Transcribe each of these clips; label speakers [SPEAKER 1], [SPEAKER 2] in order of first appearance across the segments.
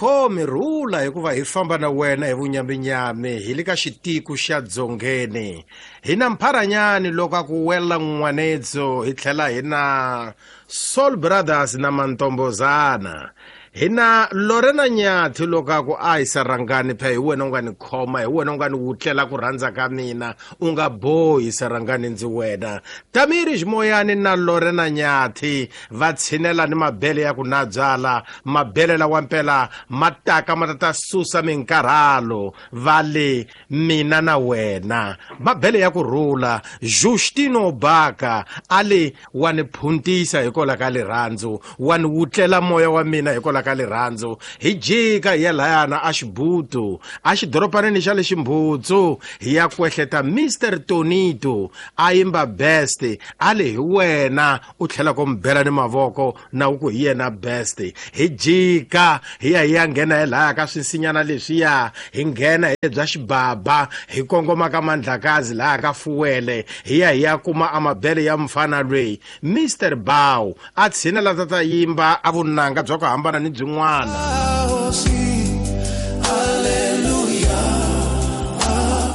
[SPEAKER 1] Khomi rhula hikuva hi famba na wena hi vunyaminyami hi le ka xitiku xa dzongeni. Hi na mpharanyani loko a ku wela n'wanetso hi tlhela hi na Soul Brothers na Mantombozana. Hi na Lorena Nyathi loko a ku a hi Sarangani phe hi wena u nga ni khoma hi wena u nga ni wutlela ku rhandza ka mina u nga bohi Sarangani ndzi wena. Tamiri Ximoyani na Lorena Nyathi va tshinela ni mabele ya ku na byala mabele lawa mpela ma taka ma ta ta susa minkarhalo va le mina na wena mabele ya ku rhula Justino Baka a le wa ni phuntisa hikwalaho ka rirhandzu wa ni wutlela moya wa mina hikwalaho ka rirhandzu hi jika hi ya layana a xibutu a xidoropanini xa le ximbutsu hi ya kwehleta Mr Tonito a yimba best a le hi wena u tlhela ku mi bela ni mavoko na u ku hi yena best hi jika hi ya hi ya nghena hi laya ka swinsinyana leswiya hi nghena hi bya xibaba hi kongoma ka mandlakazi laya ka fuwele hi ya hi ya kuma amabele ya mfana lweyi Mr Bow a tshinela ta ta yimba a vunanga bya ku hambana ni byin'wana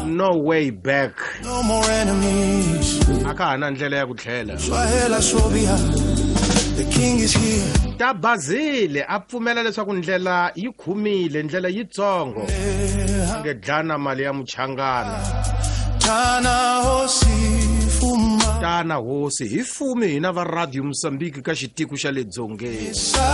[SPEAKER 1] no way back
[SPEAKER 2] No more enemies.
[SPEAKER 1] A ka ha na ndlela ya ku tlhela.
[SPEAKER 2] Swahela swo biha. The king is here.
[SPEAKER 1] Ta Bazile a pfumela leswaku ndlela yi khumile ndlela yitsongo nge dlana mali ya muchangana.
[SPEAKER 2] Tana hosi fuma.
[SPEAKER 1] Tana hosi hi fumi hina va Radio Mozambique ka xitiko xa le dzongeni.